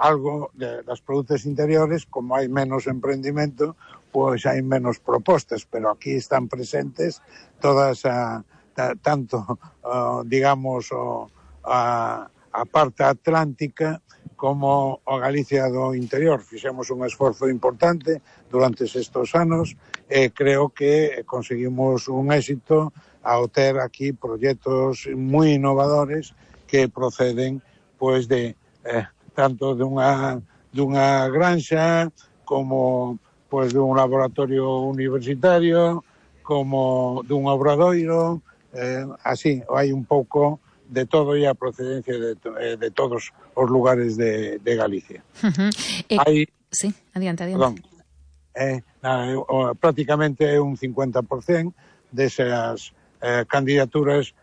algo das produtos interiores, como hai menos emprendimento, pois hai menos propostas, pero aquí están presentes todas tanto, digamos, a parte atlántica como a Galicia do interior. Fixemos un esforzo importante durante estes anos e creo que conseguimos un éxito ao ter aquí proxectos moi innovadores que proceden pois de tanto dunha granxa como pois dun laboratorio universitario, como dun obradoiro, así, hai un pouco de todo e a procedencia de todos os lugares de Galicia. Hai, sí, adiante. Perdón, prácticamente un 50% desas candidaturas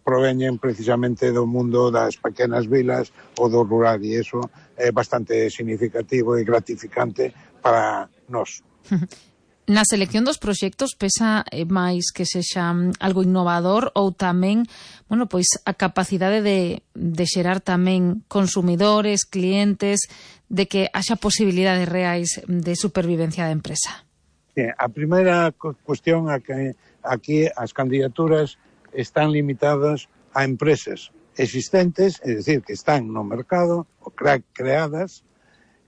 proveñen precisamente do mundo das pequenas vilas ou do rural, e iso é bastante significativo e gratificante para nós. Na selección dos proxectos pesa máis que sexa algo innovador ou tamén, bueno, pois a capacidade de xerar tamén consumidores, clientes, de que haxa posibilidades reais de supervivencia da empresa? Sí, a primeira cuestión é que aquí as candidaturas están limitadas a empresas existentes, é dicir, que están no mercado ou creadas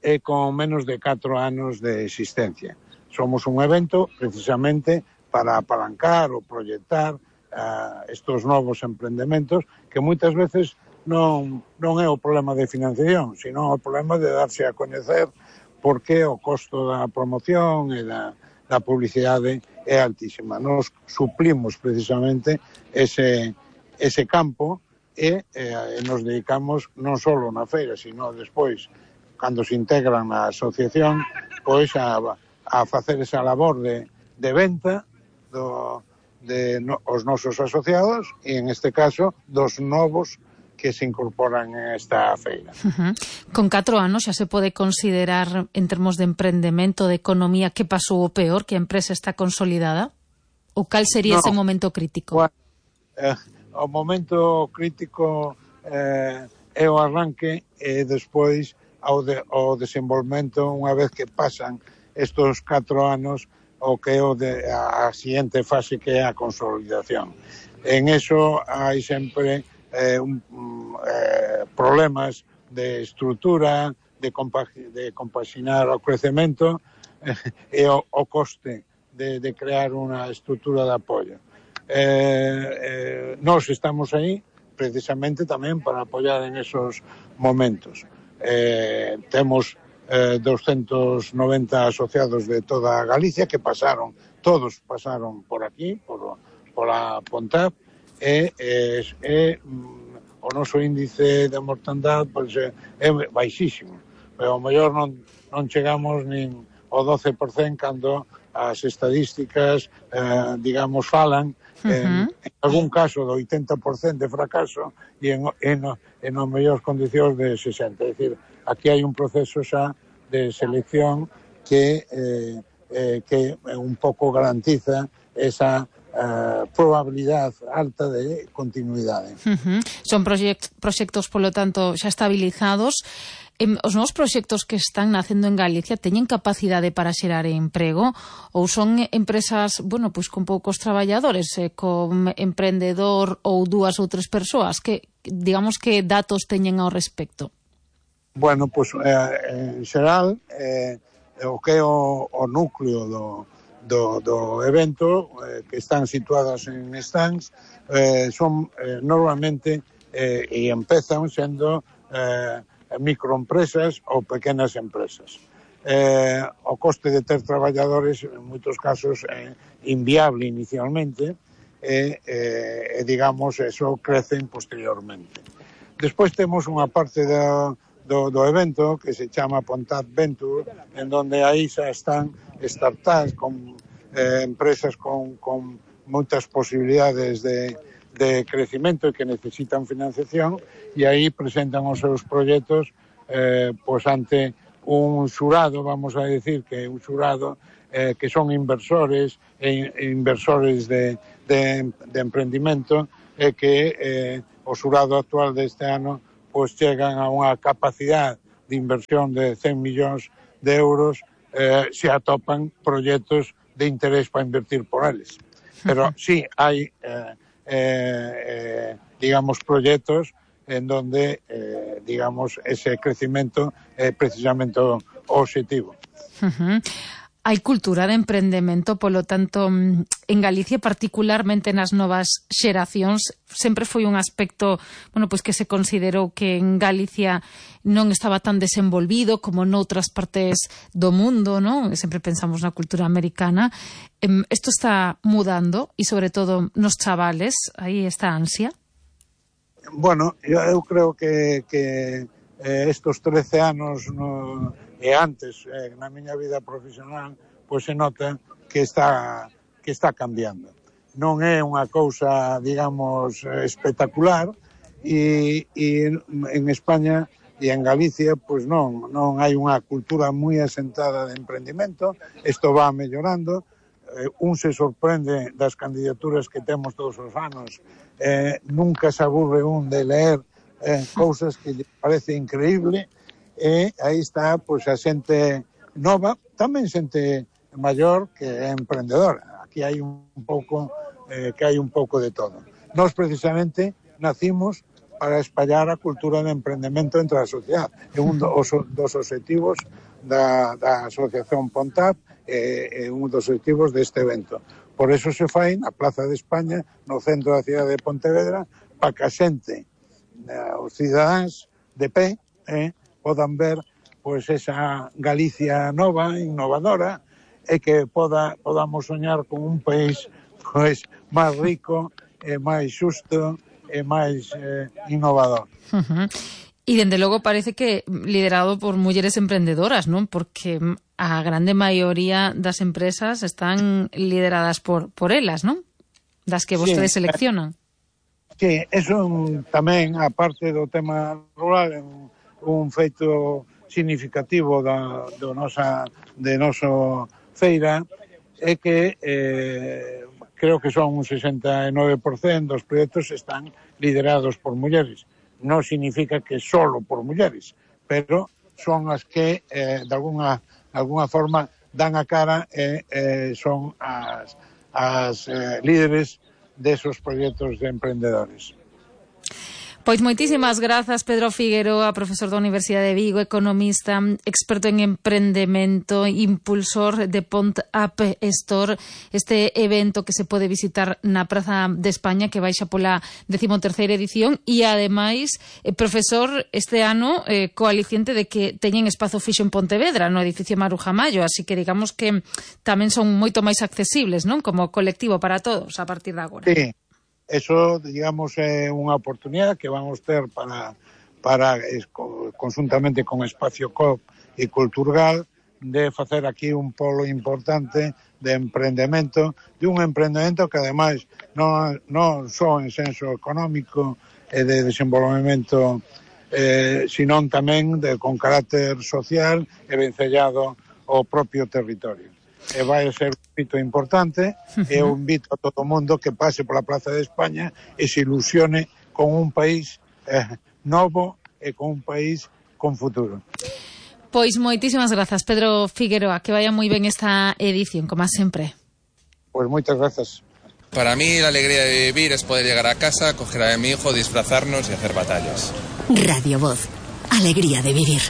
e con menos de 4 anos de existencia. Somos un evento precisamente para apalancar ou proyectar estos novos emprendementos que moitas veces non é o problema de financiación, sino o problema de darse a coñecer porque o costo da promoción e da publicidade é altísima. Nos suplimos precisamente ese campo e nos dedicamos non só na feira, sino despois, cando se integran na asociación, pois a facer esa labor de venta os nosos asociados e, en este caso, dos novos que se incorporan en esta feira. Con 4 anos xa se pode considerar, en termos de emprendemento, de economía, que pasou o peor, que a empresa está consolidada? Ou cal sería ese momento crítico? Bueno, o momento crítico é o arranque e despois o desenvolvemento unha vez que pasan estos 4 anos o que é a siguiente fase que é a consolidación. En eso hai sempre problemas de estrutura, de compaxinar o crecemento e o coste de crear unha estrutura de apoio. Nós estamos aí precisamente tamén para apoiar en esos momentos. Temos 290 asociados de toda Galicia que todos pasaron por aquí, por a Pontap, e o noso índice de mortandade pois, é baixísimo, pero ao mellor non chegamos nin ao 12% cando as estadísticas, digamos, falan en algún caso do 80% de fracaso e en as mellores condicións de 60%. É dicir, aquí hai un proceso xa de selección que un pouco garantiza esa probabilidade alta de continuidade. Son proxectos, polo tanto, xa estabilizados. Os novos proxectos que están nacendo en Galicia teñen capacidade para xerar emprego ou son empresas, bueno, pois con poucos traballadores, con emprendedor ou 2 ou 3 persoas? Que, digamos, que datos teñen ao respecto? Bueno, pois, en xeral, o que é o núcleo do evento, que están situadas en stands, son normalmente e empezan sendo microempresas ou pequenas empresas. O coste de ter traballadores en moitos casos é inviable inicialmente e digamos, eso crecen posteriormente. Despois temos unha parte do evento que se chama Pontap Venture, en donde aí xa están startups con empresas con moitas posibilidades de crecimento e que necesitan financiación, e aí presentan os seus proxectos pois ante un xurado, vamos a decir que un xurado que son inversores e inversores de emprendimento e que o xurado actual deste ano pois chegan a unha capacidade de inversión de 100 millóns de euros se atopan proxectos de interés para invertir por eles. Pero sí, hai digamos, proxectos en donde, digamos, ese crecimiento é precisamente o objetivo. Hai cultura de emprendemento, polo tanto, en Galicia, particularmente nas novas xeracións, sempre foi un aspecto, bueno, pois que se considerou que en Galicia non estaba tan desenvolvido como noutras partes do mundo, non? Sempre pensamos na cultura americana. Isto está mudando e, sobre todo, nos chavales, aí esta ansia. Bueno, eu creo que estos 13 anos e antes, na miña vida profesional, pois se nota que está cambiando. Non é unha cousa, digamos, espectacular, e en España e en Galicia, pois non hai unha cultura moi asentada de emprendimento. Isto va mellorando. Un se sorprende das candidaturas que temos todos os anos. Nunca se aburre un de leer cousas que lle parece increíble, e aí está pois a xente nova, tamén xente maior que é emprendedora. Aquí hai un pouco de todo. Nós precisamente nacimos para espallar a cultura de emprendemento entre a sociedade. É un dos objetivos da Asociación Pontap, é un dos objetivos deste evento. Por eso se fai na Plaza de España, no centro da cidade de Pontevedra, para que a xente, os cidadáns de pé, podan ver pois esa Galicia nova, innovadora, e que podamos soñar con un país pois máis rico, máis xusto e máis innovador. E, dende logo, parece que liderado por mulleres emprendedoras, non? Porque a grande maioría das empresas están lideradas por elas, non? Das que vostedes seleccionan. Sí, eso tamén, a parte do tema rural, é un feito significativo de noso feira, é que creo que son un 69% dos proxectos están liderados por mulleres. Non significa que solo por mulleres, pero son as que de alguna forma dan a cara e son as líderes desos proxectos de emprendedores. Pois moitísimas grazas, Pedro Figueroa, profesor da Universidade de Vigo, economista, experto en emprendemento, impulsor de Pontap Store, este evento que se pode visitar na Praza de España, que baixa pola 13ª edición, e ademais, profesor este ano coaliciente de que teñen espazo fixo en Pontevedra, no edificio Maruja Mayo, así que digamos que tamén son moito máis accesibles, non? Como colectivo para todos a partir de agora. Sí. Eso, digamos, é unha oportunidade que vamos ter para conjuntamente con Espacio COP e Culturgal, de facer aquí un polo importante de emprendemento, de un emprendemento que ademais non só en senso económico e de desenvolvemento, senón tamén con carácter social e vencellado ao propio territorio. E vai ser un hito importante, e eu invito a todo o mundo que pase pola Plaza de España e se ilusione con un país novo e con un país con futuro. Pois moitísimas grazas, Pedro Figueroa, que vaya moi ben esta edición, como sempre. Pois moitas grazas. Para mí la alegría de vivir es poder llegar a casa, coger a mi hijo, disfrazarnos y hacer batallas. Radio Voz, alegría de vivir.